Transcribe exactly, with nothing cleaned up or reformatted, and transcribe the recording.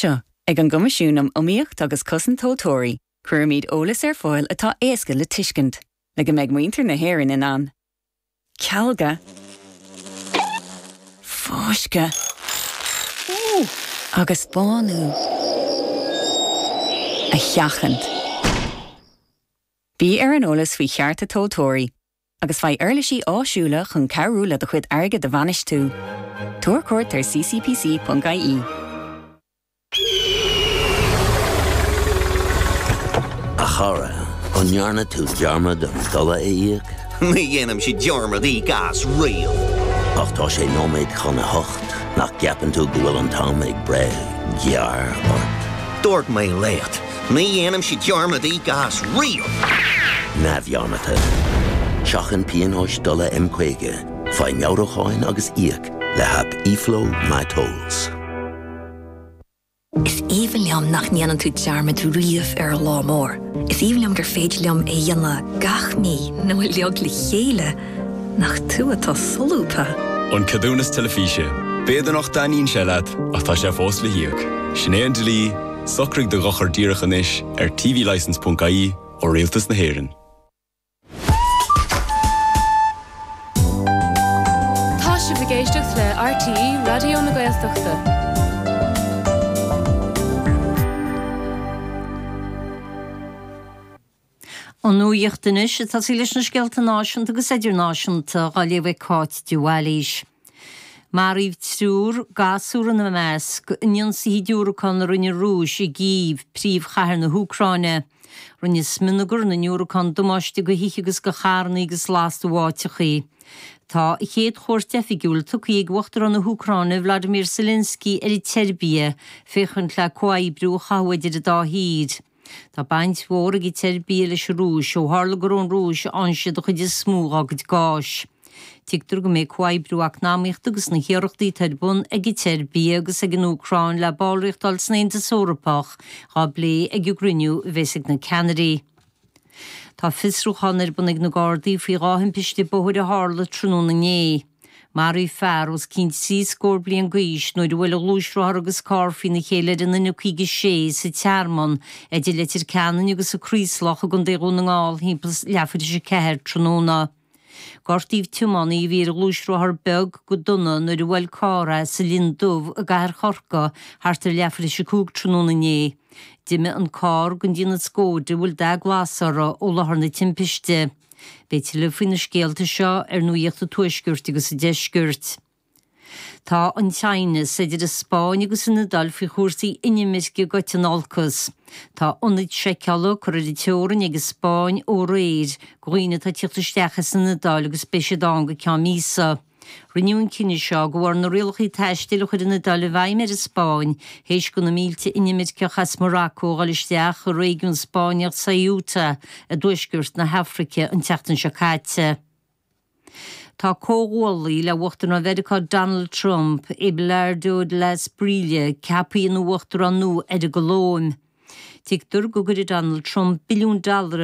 Anseo, ag an gCoimisiún um Iomaíocht agus Cosaint Tomhaltóirí, cuirimid eolas ar fáil atá éasca le tuiscint, le go mbeidh muintir na hÉireann in ann. Cealga Fáisceadh agus bánú a sheachaint. Bí ar an eolas faoi chearta tomhaltóirí, agus faigh uirlisí áisiúla chun cabhrú le do chuid airgid a bhainistiú. Tabhair cuairt ar ccpc.ie. A chara, an ndearna tú dearmad an dola a íoc? Ní dhéanaimse dearmad íoc as riamh. Ach tá sé nóiméad chun a hocht, nach gceapann tú go bhfuil an t-am ag breith gearr ort? Dúirt mé leat, ní dhéanaimse dearmad íoc as riamh. Neamhdhearmadta. Seachain pionóis dola M caoga, faigh meabhrúcháin agus íoc le haip eFlow MyTolls. Is aoibhinn liom nach ndéanann tú dearmad riamh ar an lá mór. Is aoibhinn liom gur féidir liom é a dhéanamh gach mí nó uilig le chéile. Nach tú atá solúbtha. An ceadúnas teilifíse. B'fhéidir nach dtaitníonn sé leat ach tá sé fós le híoc. Sin é an dlí, socraigh do dhochar díreach anois ar tvlicence.ie ó Rialtas na hÉireann. Tá sibh ag éisteacht le RTÉ Raidió na Gaeltachta. An nuacht anois ag tosaí leis na scéalta náisiúnta agus idirnáisiúnta á léamh ag Cáit de Bhailís. Maraíodh triúr, gasúr ina measc, in ionsaithe diúracán a rinne an Rúis i gCív, príomhchathair na hÚcráine. Rinne smionagar na ndiúracán damáiste do thithe agus do charranna agus lastadh áiteachaí. Tá a chéad chuairt oifigiúil tugtha ag Uachtarán na hÚcráine Vladimir Zelensky ar an tSeirbia féachaint le comhoibriú a chothú idir an dá thír. Tá baint mhór ag an tSeirbia leis an Rúis ó tharla gur ón Rúis a fhaigheann siad an chuid is mó dá gcuid gáis. Tuigtear go mbeidh comhoibriú eacnamaíochta agus na hiarrachtaí atá ar bun ag an tSeirbia agus ag an Úcráin le ballraíocht a fháil san Aontas Eorpach á bplé ag an gcruinniú a bheas ag na ceannairí. Tá fiosrúchán ar bun ag na Gardaí faoi dhá thimpiste bóthair a tharla tráthnóna inné. Maraíodh fear os cionn trí scór bliain d'aois nuair a bhuail a ghluaisrothar agus carr faoina chéile ar an N caoga sé sa Tearmann idir Leitir Ceanainn agus an Craoslach i gContae Dhún na nGall thimpeall leathuair tar éis a ceathair tráthnóna. Gortaíodh tiománaí a bhí ar ghluaisrothar beag go dona nuair a bhuail carr é sa Linn Dubh i gcathair Chorcaí thart ar leathuair tar éis a cúig tráthnóna inné. D'imigh an carr den déanamh Skoda a bhfuil dath glas orthu ó láthair na timpiste. Beidh tuilleadh faoi na scéalta seo ar Nuacht an Tuaiscirt agus an Deiscirt. Tá an t-aighneas idir an Spáinn agus an Iodáil faoi chúrsaí inimirce gaibhte in olcas. Tá ionaid seiceála curtha ar an teorainn ag an Spáinn ó aréir do dhaoine atá ag tíocht isteach as an Iodáil agus beidh siad ann go ceann míosa. Rinneadh an cinneadh seo de bharr na rialacha taistil a chuir an Iodáil i bhfeidhm ar an Spáinn théis do na mílte inimirceach as Morocco a dhul isteach i réigiún Spáinneach Ceuta i dtuaisceart na hAfraice an tseachtain seo caite. Tá comhghuaillí le Uachtarán Mheiriceá Donald Trump, Abelardo de la Espriella, ceaptha ina uachtarán nua ar an gColóim. Tuigtear go gcuirfidh Donald Trump billiún dollar